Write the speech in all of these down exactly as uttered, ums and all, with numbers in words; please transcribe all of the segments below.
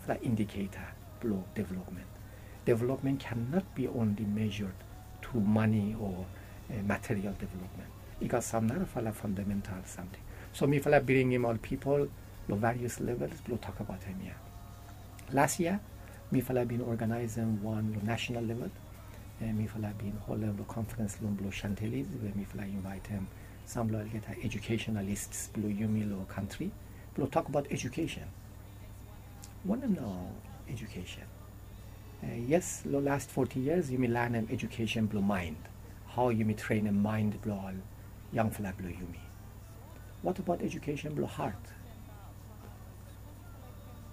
narafala indiketa blong development. Development cannot be only measured through money or material development. I gat sam narafala fundamental samting. So mifala bringim ol pipol long various levels blong tokbaot hemia. Las yia mifala bin organizem wan long national level. Mifala bin holem long conference room blong Chantilly, we mifala invaitem sam long olgeta educationalists blong yumi long kantri blong tokbaot education. Wanem nao education? Yes, long last forty years yumi lanem education blong mind, hao yumi trenem mind blong ol yangfala blong yumi. What about education blong heart?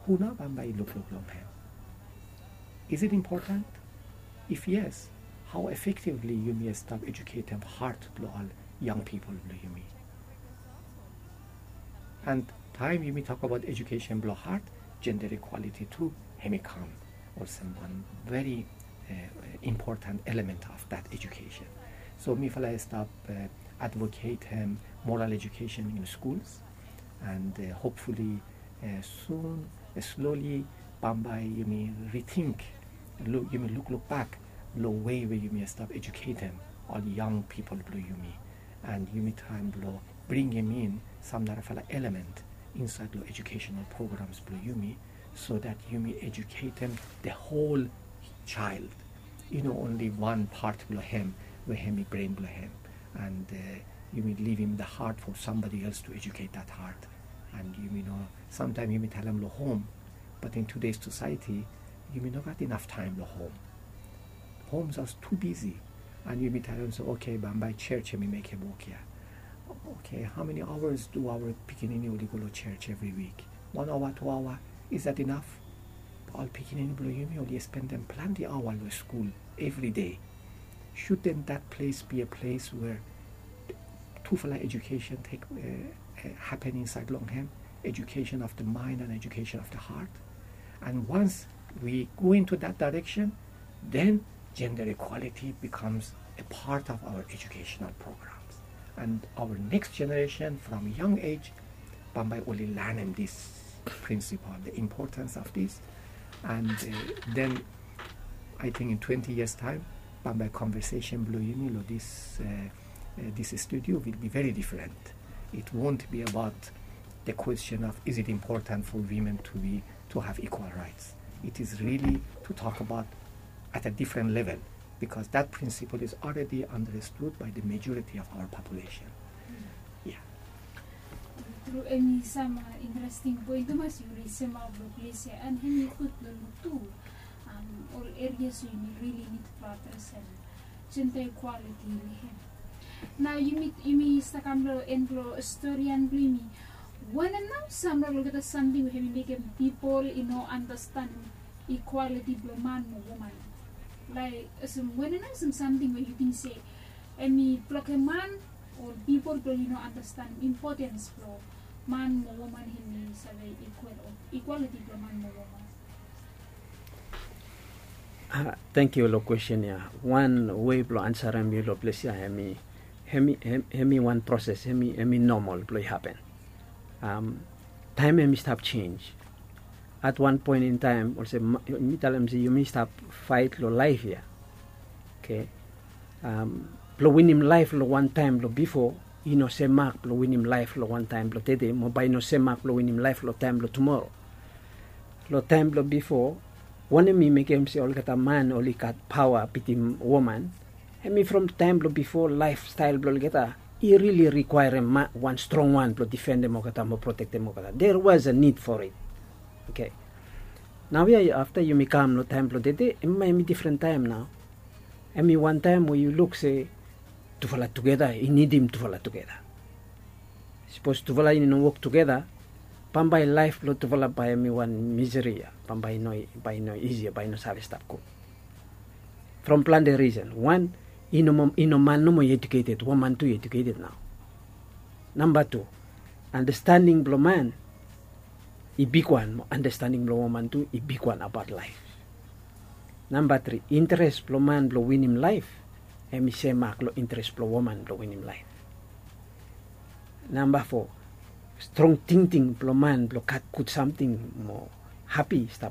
Hu nao bambae i lukluk long hem? Is it important? If yes, hao effectively yumi stap eduketem heart blong ol yang pipol blong yumi? And taem yumi tokbaot education blong heart, gender equality tu hem i kam olsem wan very important element of that education. So mifala i stap advocatem moral education in schools, and hopefully soon, slowly, bambae yumi rethink, yumi lukluk bak long wei we yumi stap eduketem ol yang pipol blong yumi, and yumi traem blong bringim in sam narafala element insaed long educational programs blong yumi, so that yumi eduketem the whole child. I no only wan pat blong hem we hem i brain blong hem, and yumi livim the heart for somebody else to educate that heart. And yumi no, samtaem yumi talem long hom, but in today's society yumi no gat inaf taem long hom. Hom jas tu bisi, and yumi talem se, okay, bambae church hem i mekem wok ya. Okay, how many hours do our pikinini oli go long church every week? Wan aoa, tu aoa, is that enough? Ol pikinini blong yumi oli spendem plante aoa long skul every day. Shouldn't that place be a place where tufala education take happen insaed long hem? Education of the mind and education of the heart. And once we go into that direction, then gender equality becomes a part of our educational programs. And our next generation from young age, bambae oli lanem this principle, the importance of this. And then I think in twenty years time, bambae conversation blong yumi long this, this studio will be very different. It won't be about the question of is it important for women to be, to have equal rights. It is really to talk about at a different level, because that principle is already understood by the majority of our population. Yeah. Tru, tru, hem i sam interesting point tumas yu resemap long ples ya, and hem i gud long luk tu ol erias we yumi rili nid blong adresem gender equality long hem. Nao yumi, yumi stap kam long en blong storian blong yumi. Wanem nao sam long olgeta samting we hem i mekem pipol i no andastanem equality blong man mo woman? Laek olsem wanem nao olsem samting we yu ting se hem i blokem man o pipol blong yu no andastanem importance blong man mo woman hem i save equal o equality blong man mo woman? Tangkiu long kwestin ya. Wan wei blong ansarem yu long ples ya, hem i, hem i, hem i wan proses, hem i, hem i nomol blong i hapen. Taem hem i stap jenj. At wan poen in taem olsem mi talem se yumi stap faet long laef ya. Oke. Blong winim laef long wan taem blong bifo i no semak blong winim laef long wan taem blong tede, mo bae i no semak blong winim laef long taem blong tumoro. Long taem blong bifo, wanem i mekem se olgeta man oli gat paoa bitim woman? Hem i from taem blong bifo laefstael blong olgeta i rili rikwaerem wan strong wan blong difendem olgeta mo protektem olgeta. There was a need for it. Oke. Naoia afta yumi kam long taem blong tede, hem i difren taem nao. Hem i wan taem we yu luk se tufala tugeta i nidim tufala tugeta. Sapos tufala i no wok tugeta, bambae laef blong tufala bae hem i wan miseri ya, bambae i no, bae i no isi ya, bae i no save stap gud. From plante risen. Wan, i no, i no man nomo i eduketed, woman tu i eduketed nao. Namba tu, andastaning blong man i bigwan mo andastaning blong woman tu i bigwan abaot laef. Namba tri, interes blong man blong winim laef hem i semak long interes blong woman blong winim laef. Namba fo, strong tingting blong man blong gat gud samting mo hapi stap